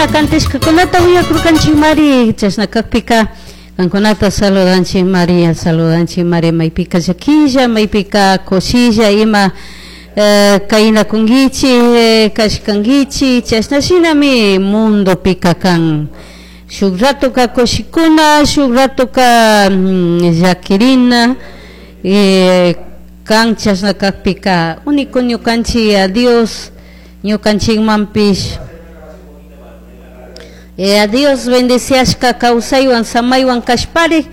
Cantashkakunata uyakurkanchikmari, chashna kakpika kankunata saludanchik Maria, saludanchik Maria, maypika llaquilla, maypika kushilla ima kaynakunkichik, kashkankichik, chashna shinami mundopika kan. Shuk ratoka kushikuna, shuk ratoka llakirina, kan chashna kakpika único ñukanchik a Dios ñukanchikmanpish a Dios bendeciashka kawsaywan samaywan kashpari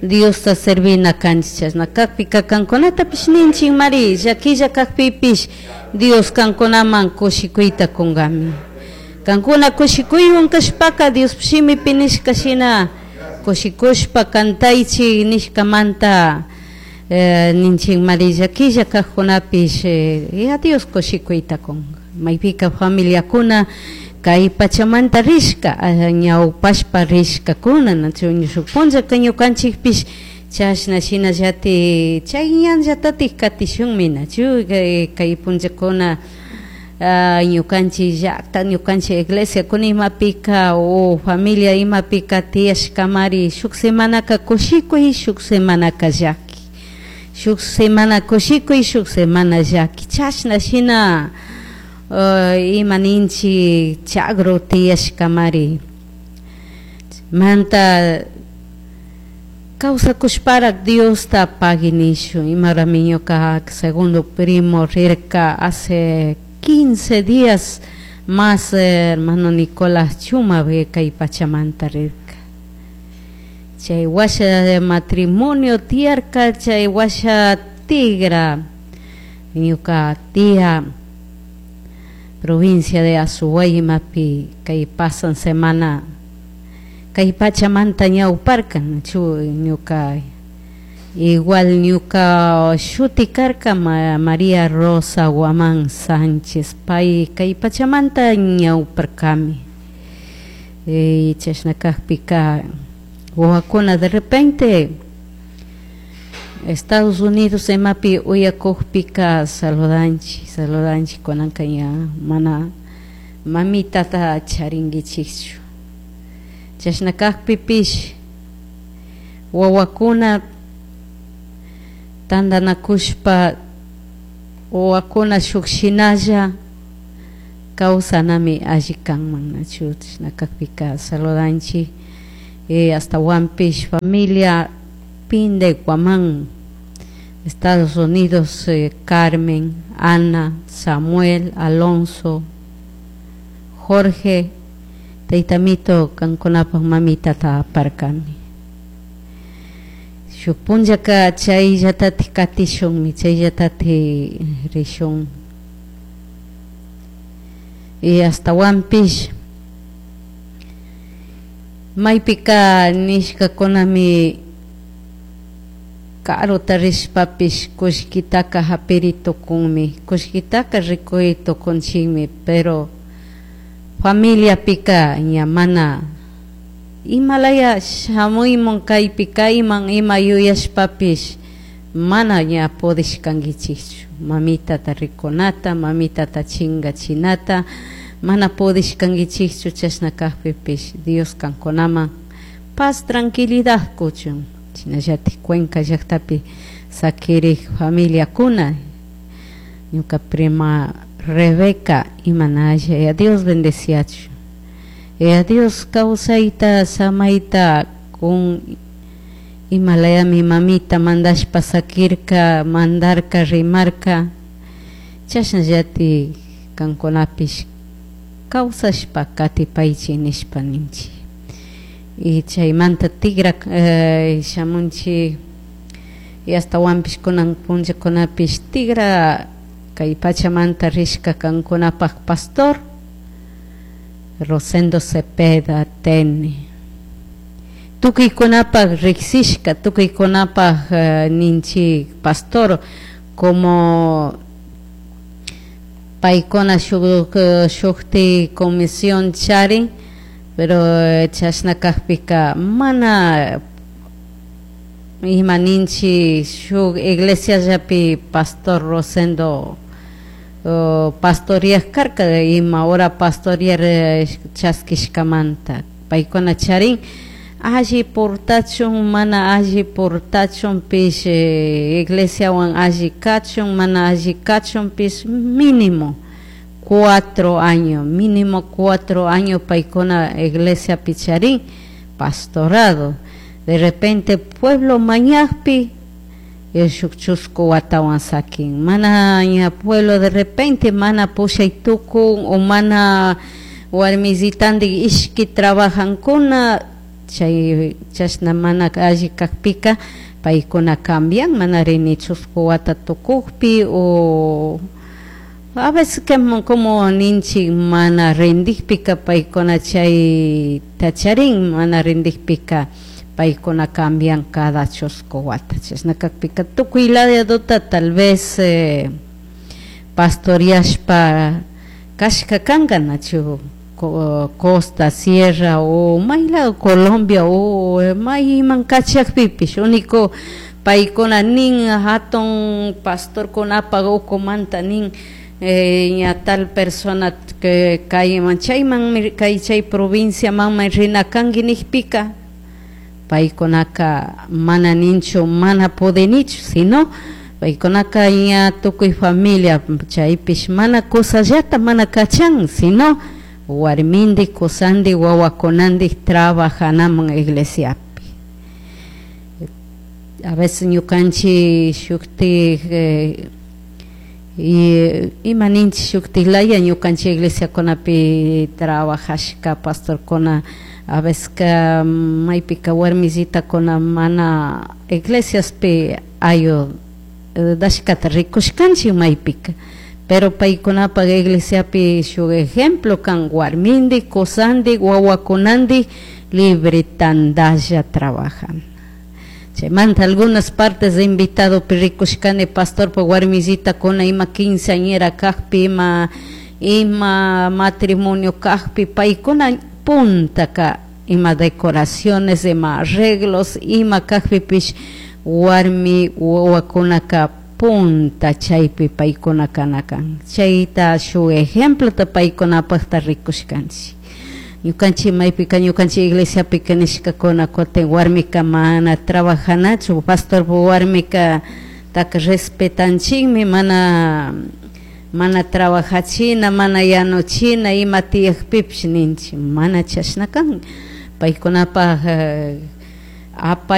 Diosta servina kanchik, chashna kakpika kankunatapish ninchik mari llaquilla kakpipish Dios kankunaman kushikuyta kunkami. Kankuna kushikuywan kashpaka Dios shimipi nishka shina kushikushpa kantaychik nishkamanta ninchik mari llaquilla kajkunapish a Dios kushikuyta kunka. Maypika familiakuna kay pachamanta rishka ñawpashpa rishkakuna nachu shuk punllaka ñukanchikpish chashna shinallati chay ñanllatatik katishunmi nachu kay punllakuna ñukanchik llakta ñukanchik iglesiakuna imapika o familia imapika tiyashkamari shuk semanaka kushikuy shuk semanaka llaki, shuk semana kushikuy shuk semana llaki, chashna shina ima ninchik chagro tiyashkamari manta kawsakushparak Diosta pagui nishun. Imarami ñuka segundo primo rirka hace 15 días más, hermano Nicolás Chuma kay pachamanta rirka. Chay washa matrimonio tiyarka, chay washa tigra ñuka tía provincia de Azuay imapi kay pasan semana kay pachamanta ñawparka chu ñuka igual ñuka shuti karka María Rosa Guamán Sánchez pay kay pachamanta ñawparkami. Chashna kakpika wawakuna de repente Estados Unidos imapi uyakukpika saludanchik, saludanchik kunanka ña mana mamitata charinkichikchu. Chashna kakpipish wawakuna tantanakushpa wawakuna shuk shinalla kawsanami alli kanman nachu. Chashna kakpika saludanchik astawanpish familia Pinde Guamán, Estados Unidos, Carmen, Ana, Samuel, Alonso, Jorge, taytamito kankunapak mamitata aparkani. Shuk punllaka chayllatatik katishunmi, chayllatatik rishun. Y astawanpish maypika nishkakunami karuta rishpapish kullkitaka hapiri tukunmi, kullkitaka rikuy tukunchikmi, pero familiapika ña mana imalaya shamuymun kaypi kayman ima yuyashpapish mana ña pudishkankichikchu mamitata rikunata, mamitata chingachinata mana pudishkankichikchu. Chashna kakpipish Dios kankunaman paz tranquilidad kuchun. Shinallatik Cuenca llaktapi sakirik familiakuna ñuka prima Rebeca imanalla, Dios bendeciachu, Dios kawsayta samayta kun imalayami mamita mandashpa sakirka, mandarka, rimarka, chashnallatik kankunapish kawsashpa katipaychik nishpa ninchik. Y chaymanta tigra shamunchik y astawanpish kunan punllakunapish tigra kay pachamanta rishka kankunapak pastor Rosendo Cepeda Tene, tukuykunapak riksishka, tukuykunapak ninchik pastor como paykuna shukti comisión charin, pero chashna kakpika mana ima ninchik shuk iglesiallapi pastor Rosendo Pastoreaj karka ima hora pastorear chaskishkamanta paykuna charin alli portachun mana alli portachunpish, iglesiawan alli kachun mana alli kachunpish, mínimo 4 años, mínimo 4 años paykuna iglesiapi charin pastorado. De repente pueblo mañakpi shuk chusku watawan sakin, mana ña pueblo de repente mana pushay tukun o mana warmisitandik ishki trabajankuna, chay chashna mana alli kakpika paykuna cambian, mana rini chusku wata tukukpi o a veces que como ninchik mana rindikpika paykuna chayta charin, mana rindikpika paykuna cambian cada chusku wata. Chashna kakpika tukuy ladota tal vez pastoreashpa kashka kanka, nachu costa, sierra o may lado Colombia o mayman kachakpipish, único paykuna nin hatun pastorkunapak ukumanta nin ña tal persona que kayman chayman kay chay provinciamanmi rina kanki nikpika, paykunaka mana ninchu mana pudinichu, sino paykunaka ña tukuy familia chaypish mana kusallata mana kachan, sino warmindik kusandik wawakunandik trabajanaman iglesiapi. A veces ñukanchik shuktik ima ninchik shuktik laya ñukanchik iglesiakunapi trabajashka pastorkuna, a veces ka maypika warmisitakuna mana iglesiaspi ayudashkata rikushkanchik maypika, pero paykunapak iglesiapi shuk ejemplo kan, warmindik kusandik wawakunandik libre tandalla trabajan. Chaymanta algunas partes de invitado rikushkani pastorpak warmisitakuna ima quinceañera kakpi, ima matrimonio kakpi, paykuna puntaka ima decoraciones, ima arreglos, ima kakpipish warmi wawakunaka punta chaypi paykuna kana kan. Chayta shuk ejemplota paykunapakta rikushkanchik. Ñukanchik maypika ñukanchik iglesiapika nishkakuna kutin warmika mana trabajanachu, pastorpak warmika taka respetanchikmi, mana trabajachina, mana yanuchina ima tiyakpipish ninchik, mana chashna kan paykunapak apay.